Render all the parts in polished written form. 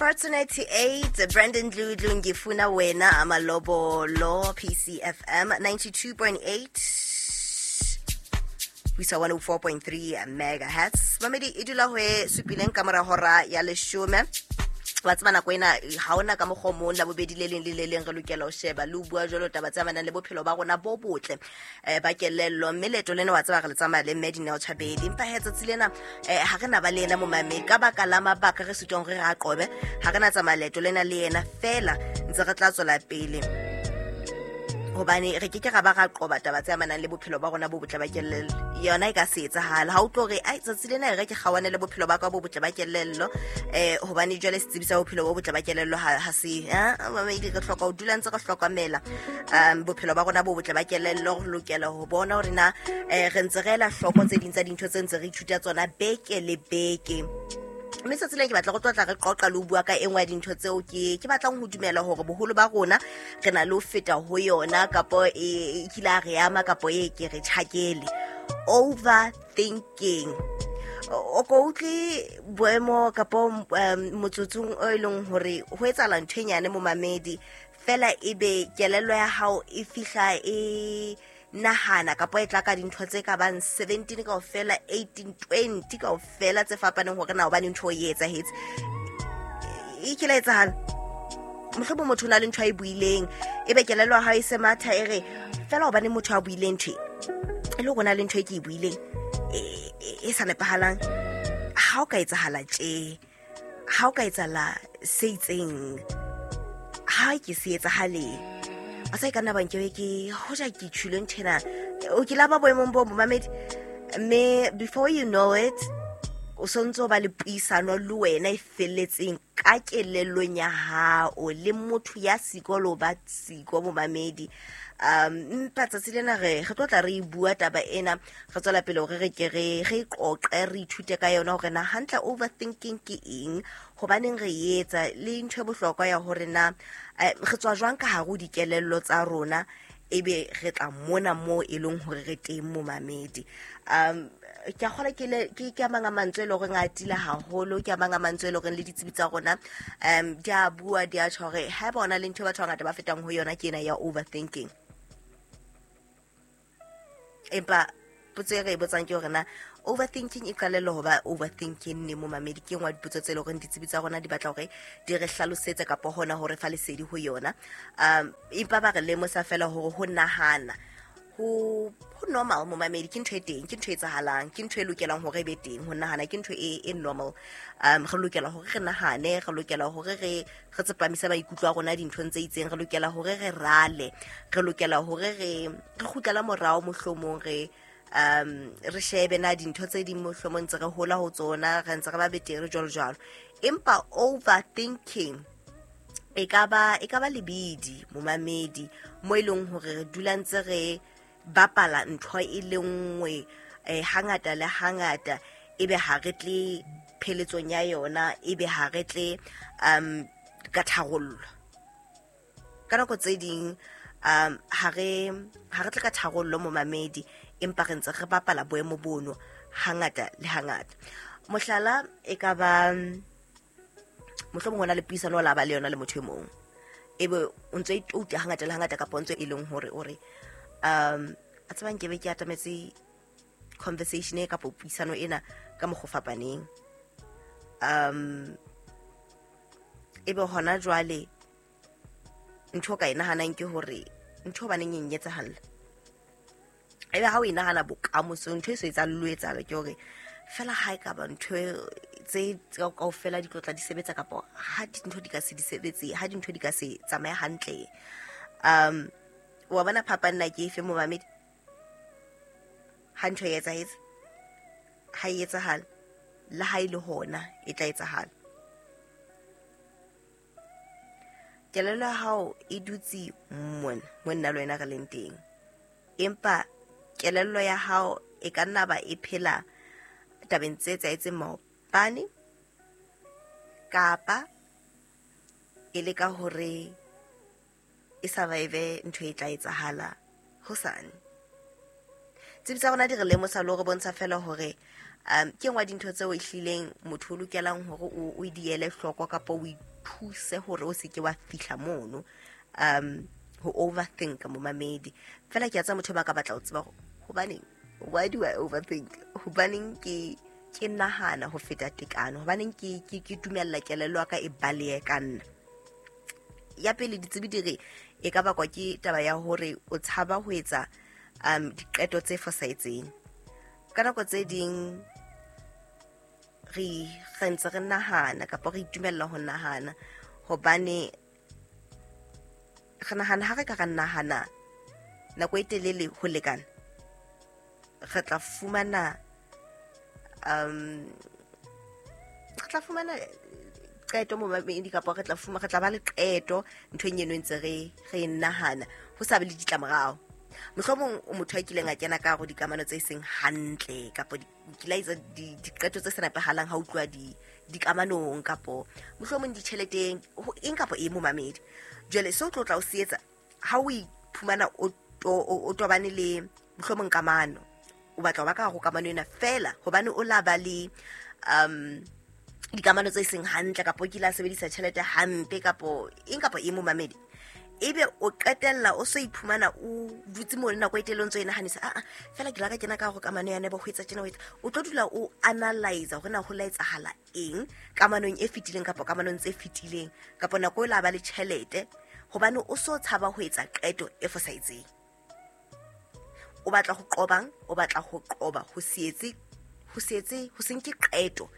Fortunate 8 Brandon Dludlu, Ngifuna Wena, Amalobolo, PCFM 92.8 ho isa 104.3 megahertz. Mamedi e dula ho e supileng ka mora hora ya leshome. Wa tseba nako ena ha ona ka mokgwa o mong, la bobedi le leng le le leng re lokela ho sheba le ho bua jwalo taba tse amanang le bophelo ba rona bo botle ba kelello. Mme leeto lena wa tseba re le tsamaya le mme Dineo Chabeli, empa he tsatsi lena ha re na ba le yena momamedi ka baka la mabaka re sitwang hore re a qobe. Ha re na tsamaya leeto lena le yena, fela ntse re tla tswela pele hobane re ke ke ra ba ra qoba taba tse amanang le bophelo ba rona bo botle ba kelello. Yona e ka se etsahala ha o tlo re ai tsatsi lena e re ke kgawane le bophelo ba ka bo botle ba kelello, hobane jwale setsebi sa bophelo bo botle ba kelello ha se mamedi. Re hloka ho dula ntse re hlokomela bophelo ba rona bo botle ba kelello. Re lokela ho bona hore na re ntse re ela hloko tse ding tsa dintho tse ntse re ithuta tsona beke le beke. Mme tsatsi lena ke batla go tlotla re qoqa le ho bua ka e nngwe ya dintho tseo ke batlang ho dumela hore boholo ba rona re na le ho feta ho yona, kapo e kile a re ama, kapo e ke re tjhakele. Overthinking. O ko utlwe boemo kapo motsotsong o e leng hore ho etsahala ntho e nyane momamedi, fela ebe kelello ya hao e fihla e nahana kapo e tla ka dintho tse ka bang 17 kaofela, 18, 20 kaofela tse fapaneng hore na hobane ntho e etsahetse. E kile etsahala mohlomong motho o na le ntho a e buileng, ebe kelello ya hao e se matha e re fela hobane motho a buileng ntho e le hore o na le ntho e ke e buileng e sa nepahalang. Ha o ka etsahala tje, ha o ka etsahala se itseng, ha ke se etsahaleng, a sa e ka nna bang ke ke hoja ke tjhule ntho ena. O ke la ba boemong bo momamedi, mme before you know it o sontse o ba le puisano le wena e felletseng ka kelellong ya hao le motho ya siko le ho ba siko momamedi. Empa tsatsi lena re tlo tla re bua taba ena, re tswela pele hore re ke re qoqe, re ithute ka yona hore na hantle overthinking ke eng, hobaneng re etsa, le ntho e bohlokwa ya hore na re tswa jwang ka hare ho dikelello tsa rona, ebe re tla mona moo e leng hore re teng momamedi. Ke a kgolwa ke a mang a mantswe e leng horeng a atile haholo, ke a mang a mantswe e leng horeng le ditsebi tsa rona di a bua, di a tjho hore haeba hona le ntho e batho ba bangata ba fetang ho yona ke ena ya overthinking. Empa potso e re e botsang ke hore na overthinking e qalella ho ba overthinking ne momamedi? Ke nngwe ya dipotso tse leng horeng ditsebi tsa rona di batla hore di re hlalosetse kapa hona hore fa lesedi ho yona. Empa ba re lemosa fela hore ho nahana ho normal momamedi, ke ntho e teng, ke ntho e etsahalang, ke ntho e lokelang hore e be teng. Ho nahana ke ntho e normal. Re lokela hore re nahane, re lokela hore re tsepamise maikutlo a rona dinthong tse itseng, re lokela hore re rale, re lokela hore re kgutlela morao mohlomong, re shebe na dintho tse ding mohlomong ntse re hola ho tsona, re ntse re ba betere jwalo jwalo. Empa overthinking e ka ba lebidi momamedi, mo e leng hore re dula ntse re bapala ntho e le nngwe hangata le hangata, ebe ha re tle pheletsong ya yona, ebe ha re tle ka tharollo. Ka nako tse ding ha re tle ka tharollo momamedi, empa re ntse re bapala boemo bono hangata le hangata. Mohlala e ka ba mohlomong hona le puisano la ba le yona le motho e mong, ebe o ntse itouta hangata le hangata, kapa o ntse e leng hore o re a tsebang ke be ke atametse conversation e kapa puisano ena ka mokgwa o fapaneng. Ebe hona jwale ntho ka e nahanang ke hore ntho hobaneng e nketsahalla, ebe ha o e nahana bokamoso ntho e so etsang lo etsahala ke hore fela ha e ka ba ntho tse kaofela di tlotla di sebetsa, kapa ha dintho di ka se di sebetse, ha dintho di ka se tsamaye hantle. Wa bona phapang na ke efe momamedi? Ha ntho e etsahetse, ha e etsahala, le ha e le hona e tla etsahala. Kelello ya hao e dutse mona mo nna le wena re leng teng, empa kelello ya hao e ka nna ba e phela tabeng tse etsahetseng maobane, kapa e leka hore e survive ntho e tla etsahala hosane. Tsebi tsa rona di re lemosa le hore bontsha fela hore Ke nngwe ya dintho tseo ehlileng motho o lokelang hore o di ele hloko kapa o ithuse hore o seke wa fihla mono, ho overthink, momamedi. Fela ke a tseba motho ba ka batla ho tseba hore hobaneng, why do I overthink, hobaneng ke nahana ho feta tekano, hobaneng ke dumella kelello ya ka e balehe ka nna. Ya pele, ditsebi di re e ka bakwa ke taba ya hore o tshaba ho etsa diqeto tse fosahetseng. Ka nako tse ding re ntse re nahana kapa re itumella ho nahana hobane re nahana ha re ka ra nahana nako e telele ho lekana, re tla fumana re tla fumana qeto, momamedi, kapa re tla ba le qeto nthong eno e ntse re e nahana, ho sa be le ditlamorao. Mohlomong o motho a kileng a kena ka hare ho dikamano tse seng hantle, kapa o kile a etsa diqeto tse sa nepahalang ha o tluwa dikamanong, kapo mohlomong ditjheleteng, eng kapa eng, momamedi. Jwale se o tlo tla o se etsa ha o iphumana o tobane le mohlomong kamano, o batla ho ba ka hare ho kamano ena fela hobane o la ba le dikamano tse seng hantle, kapa o kile a sebedisa tjhelete hampe, kapo eng kapa eng, momamedi, ebe o qetella o so iphumana o dutse mo le nako e telele o ntso e nahanisa, aa fela ke la ka kena ka hare kamano ya neba ho etsa tjena, ho etsa, o tlo dula o analyze hore na ho la etsahala eng kamanong e fetileng kapa kamanong tse fetileng, kapa nako e la ba le tjhelete, hobane o so tshaba ho etsa qeto e fosahetseng. O batla ho qobang, o batla ho qoba ho se etse, ho se nke qeto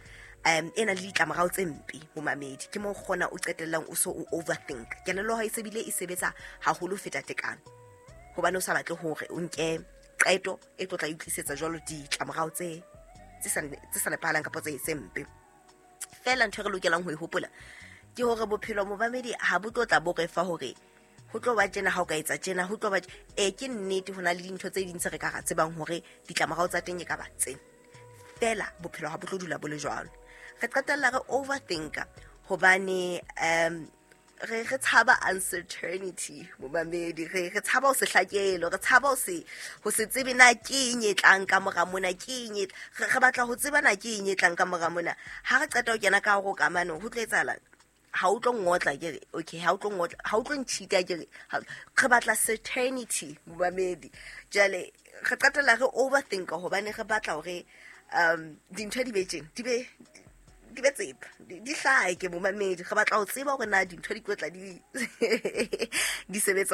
e nang le ditlamorao tse mpe, momamedi. Ke mo kgona o qetellang o so o overthink, kelello ha e sebile e sebetsa haholo ho feta tekano, hobane o sa batle hore o nke qeto e tlo tla e tlisetsa jwalo ditlamorao tse sa nepahalang kapa tse mpe. Fela ntho e re lokelang ho e hopola ke hore bophelo, momamedi, ha bo tlo tla bo re fa hore ho tlo ba tjena ha o ka etsa tjena, ho tlo ba ke nnete ho na le dintho tse ding tse re ka ra tsebang hore ditlamorao tsa teng e ka ba tsena, fela bophelo ha bo tlo dula bo le jwalo. Re qetella re overthinka hobane re tshaba uncertainty, momamedi. Re tshaba ho se hlakelo, re tshaba ho se tsebe na ke eng e tlang ka mora mona, ke eng re batla ho tseba na ke eng e tlang ka mora mona. Ha re qeta ho kena ka hare ho kamano, ho tlo etsahala ha o tlo ngotla, ke re okay, ha o tlo ngotla, ha o tlo ntšhita, ke re re batla certainty, momamedi. Jwale re qetella re overthinka hobane re batla hore dintho di be tjena, di be tsepa, di hlake, momamedi. Re batla ho tseba hore na dintho di tlo tla di sebetsa.